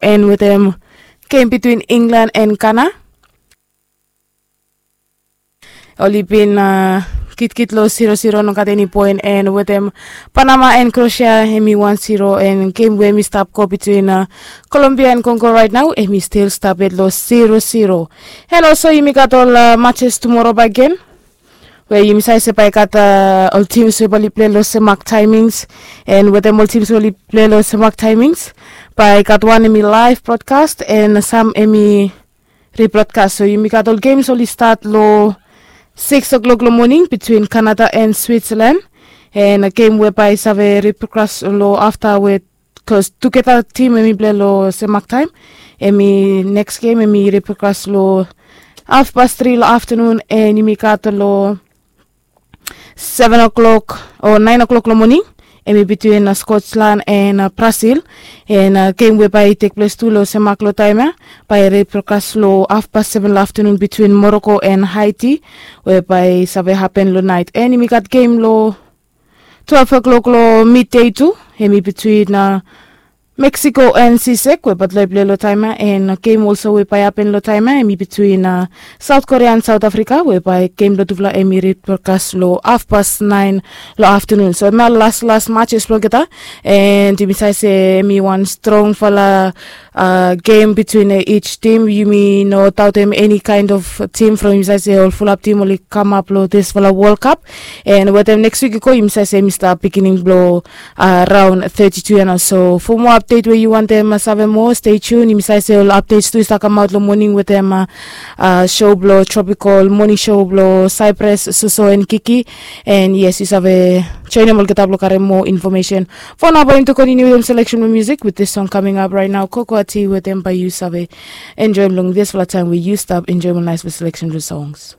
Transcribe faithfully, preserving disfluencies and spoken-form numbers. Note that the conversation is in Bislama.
En wetem gem bitwin Inglan en Gana, oli bin kitkit long zero zero, no gat eni poen. En wetem Panama en Krosia, em i wan zero. En gem we em i stap go bitwin Kolombia en Kongo rait nao, em i stil stap yet long zero zero. En olso yumi gat ol matches tumora bae gen, we yumi save se bae i gat ol tims we bae oli pilai long semak taemings. En wetem ol tims we oli pilai long semak taemings, bae i gat wan em i laev brodkas en sam em i rebrodkas. So yumi gat ol gems oli stat long sikis o'klok long moning bitwin Kanada en Switsalan. En gem we bae i save rebrodkas long afta we, bikos tugeta tim em i pilai long semak taem, em i neks gem em i rebrodkas long hafpas tri long aftanun. En yumi gat long seven o'clock o nine o'clock long moning, em i bitwin Skotlan en Brasil. En gem we bae i tekples tu long semak long taem ya, bae i rebrodkas long hafpas seven long aftanun bitwin Moroko en Haiti, we bae i save hapen long naet. En yumi gat gem long twelve o'clock long midei tu, em i bitwin Meksiko en Sisek, we bae oli pilai long taem ya. En gem olso we bae i hapen long taem ya, em i bitwin Saot Korea en Saot Afrika, we bae gem blong tufala em i rebrodkas long hafpas naen long aftanun. So em ya ol las las matches blong olgeta. En yumi save se em i wan strongfala gem bitwin each tim. Yumi no daotem eni kaen of tim from yumi save se ol fulap tim oli kamap long disfala Wol Kap. En wetem neks wik i go, yumi save se em i stap bigining blong raon teti tu ya nao. So fo moa apdet we yu wantem save moa, stei tun. Yumi save se ol apdets tu i stap kamaot long moning wetem sho blong Tropical Moning Sho blong Saipres, Soso en Kiki. En yes, yu save joenem olgeta blong karem moa infomesen. Fo nao bae yumi tu kontiniu wetem seleksen blong musik with this song coming up right now, Kokoati wetem Bae Yu Save enjoem long disfala taem we yu stap enjoem ol naesfala seleksen blong songs.